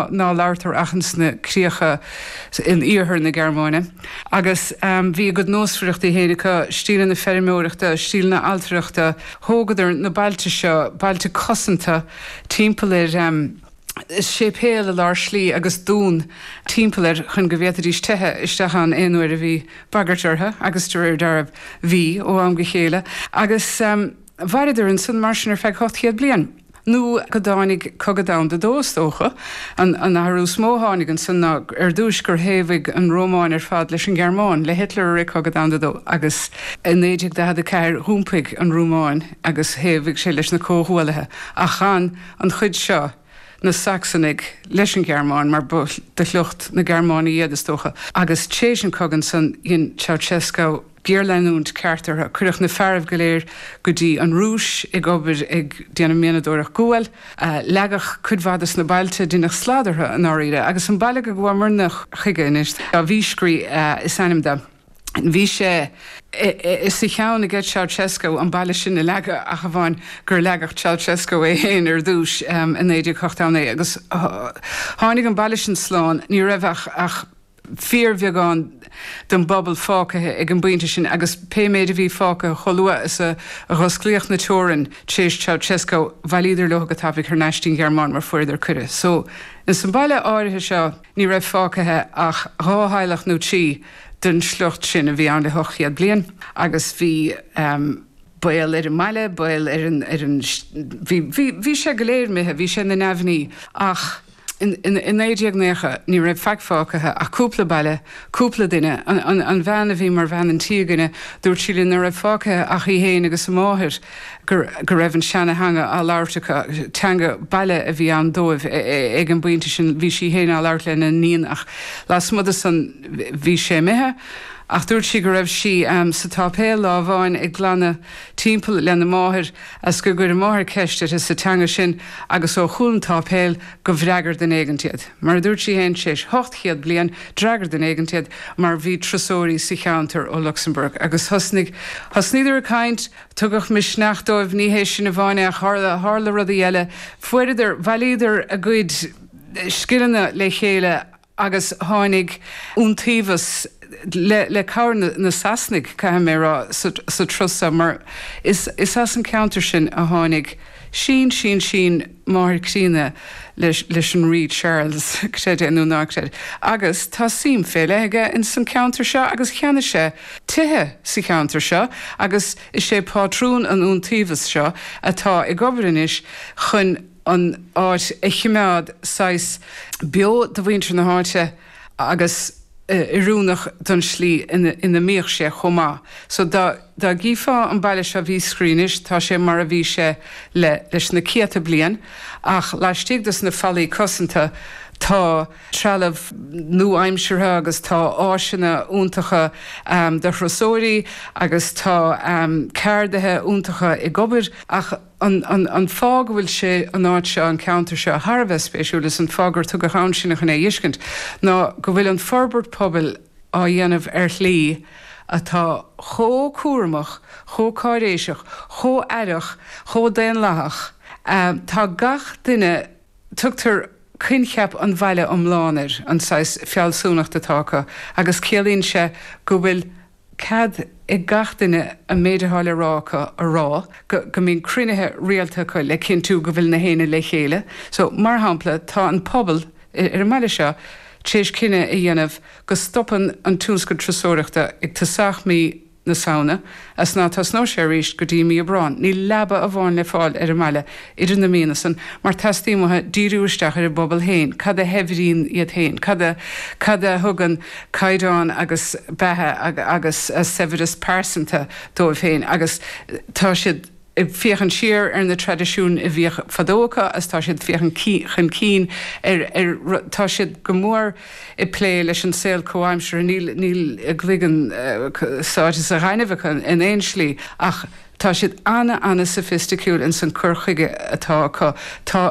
Ná labhartar ach ins na críocha in iarthar na Gearmáine. Agus bhí a gcuid nósmhaireachtaí féin acu, stíleanna feirmeoireachta, stíleanna ailtireachta. Thógadar na bailte seo, bailte cosanta, timpeall ar séipéal i lár slí agus dún timpeall air chun go bhféadfaidís teitheadh isteach ann aon uair a bhí bagairt orthu, agus de réir dealraimh, bhí, ó am go chéile. Agus mhaireadar ansan mar sin ar feadh 800 bliain. Nó go dtáinig Cogadh Domhanda Dó, is dócha. An athrú is mó a tháinig ansan ná ar dtúis gur thaobhaigh an Rómáin ar fad leis an nGearmáin, le Hitler i rith Cogadh Domhanda Dó, agus i 1944 dh'iompaigh an Rómáin agus thaobhaigh sé leis na Comhghuaillithe, ach chan an chuid seo, na Sacsanaigh, leis an Ghearmáin, mar ba de shliocht na Gearmáine iad, is dócha. Agus téis an cogadh ansan, dhein Ceausescu géarleanúint ceart orthu. Cuireadh na fearaibh go léir go dtí an Rúis ag obair ag déanamh mianadóireacht guail. Leagadh cuid mhaith des na bailte, deineadh slad orthu i ndáiríre. Agus an baile go gabhamarna chuige anois, Viscri is ainm do. Bhí sé sa cheann aige Ceausescu an baile sin a leagadh ach amháin gur leagadh Ceausescu é féin ar dtúis i 1989 agus tháinig an baile sin slán. Ní raibh ach fíorbheagán den bpobal fágtha ag an bpointe sin agus pé méid a bhí fágtha chomh luath is a dh'osclaíodh na teorainn tar éis Ceausescu bhailíodar leo go tapaidh thar n-ais dtí'n Ghearmáin mar fuaireadar cuireadh. So, ins an baile áirithe seo ní raibh fágtha ach dhá theaghlach nó trí den sliocht sin a bhí ann le 800 bliain agus bhí baol ar an mbaile, baol ar an, ar an, bhí, bhí, bhí sé go léir imithe, bhí sé ina neamhní ach. I 1990 ní raibh faic fágtha ach cúpla baile, cúpla duine. An bhean a bhí mar bhean an tí againne, dúirt sí linn nach raibh fágtha ach í féin agus a máthair, go raibh an seana-theanga á labhairt acu, teanga baile a bhí ann dóibh ag an bpointe sin. Bhí sí féin á labhairt lena n-iníon ach lasmuigh de san bhí sé imithe. Ach dúirt sí go raibh sí sa tsáipéal lá amháin ag glanadh timpeall lena máthair Is go gcuir a máthair ceist uirthi sa teanga sin agus ó chúl an tsáipéil go bhfreagair duine éigint iad. Mar a dúirt sí féin, tar éis 800 bliain, d'fhreagair duine éigint iad mar bhí turasóirí sa cheantar ó Lucsamburg agus thosnaigh, thosnaíodar ag caint, tugadh misneach dóibh, ní hé sin amháin é ach tharla, tharla rudaí eile, fuaireadar, bhailíodar a gcuid scileanna le chéile. agus tháinig iontaobhas le cabhair na Sasanaigh, caithfidh mé a rá, sa turas seo, mar is as an ceantar sin a tháinig sin sin sin máthair críonna leis an Rí Charles, creid é nó ná creid. Agus tá suim fé leith aige ins an ceantar seo agus cheannaigh sé tithe sa cheantar seo agus is é pátrún an iontaobhais seo atá ag obair anois chun an áit a chimeád saghas beo do mhuintir na háite agus oiriúnach don slí ina mbíodh sé chomh maith. So dá dá gcífeá an baile seo Viscri anois tá sé mar a bhí sé le leis na céadta bliain ach laistigh dos na fallaí cosanta tá trealamh nua-aimseartha agus tá áiseanna iontacha do thurasóirí agus tá ceardaithe iontacha ag obair ach An fáth go bhfuil sé, an áit seo, an ceantar seo, thar a bheith spéisiúil is an fáth gur tugadh ann sinne chun é a fheiscint ná go bhfuil an forbairt pobail á dhéanamh ar shlí atá chomh cúramach, chomh cáiréiseach, chomh aireach, chomh daonlathach. Tá gach duine, tugtar coincheap an bhaile iomlán air, an saghas fealsúnacht atá acu agus ciallaíonn sé go bhfuil cead ag gach duine an méid atá le rá acu a rá, go go mbíonn cruinnithe rialta acu le cinntiú go bhfuil na héinne le chéile. So, mar shampla, tá an pobal ar an mbaile seo tar éis cinneadh a dhéanamh go stopann an tionscal turasóireachta ag tosach mí na Samhna as ná tosnóidh sé arís go dtí mí Aibreáin. Níl leaba amháin le fáil ar an mbaile idir na míonna san mar teastaíonn uathu díriú isteach ar a bpobal féin, cad a shaibhríonn iad féin, cad a cad a thugann caighdeán agus beatha agus saibhreas pearsanta dóibh féin agus tá siad ag féachaint siar ar na traidisiúin a bhíodh fadó acu agus tá siad ag féachaint chun cinn ar ar tá siad go mór ag plé leis an saol comhaimseartha níl níl a gcloigeann sáite sa ghaineamh acu in aon slí ach tá siad ana ana soifisticiúil ins an cur chuige atá acu tá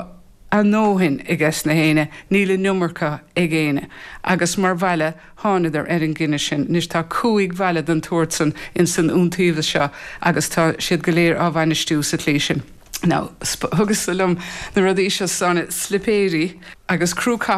a ndóthain ages na héinne, níl an iomarca ag éinne. Agus mar bhaile, thánadar ar an gcinneadh sin. Anois tá 5 bhaile den tsórt san ins an iontaobhas seo agus tá siad go léir á bhainistiú sa tslí sin. Now, thugas-sa liom na rudaí seo, Áine, slipéirí agus crú capaill.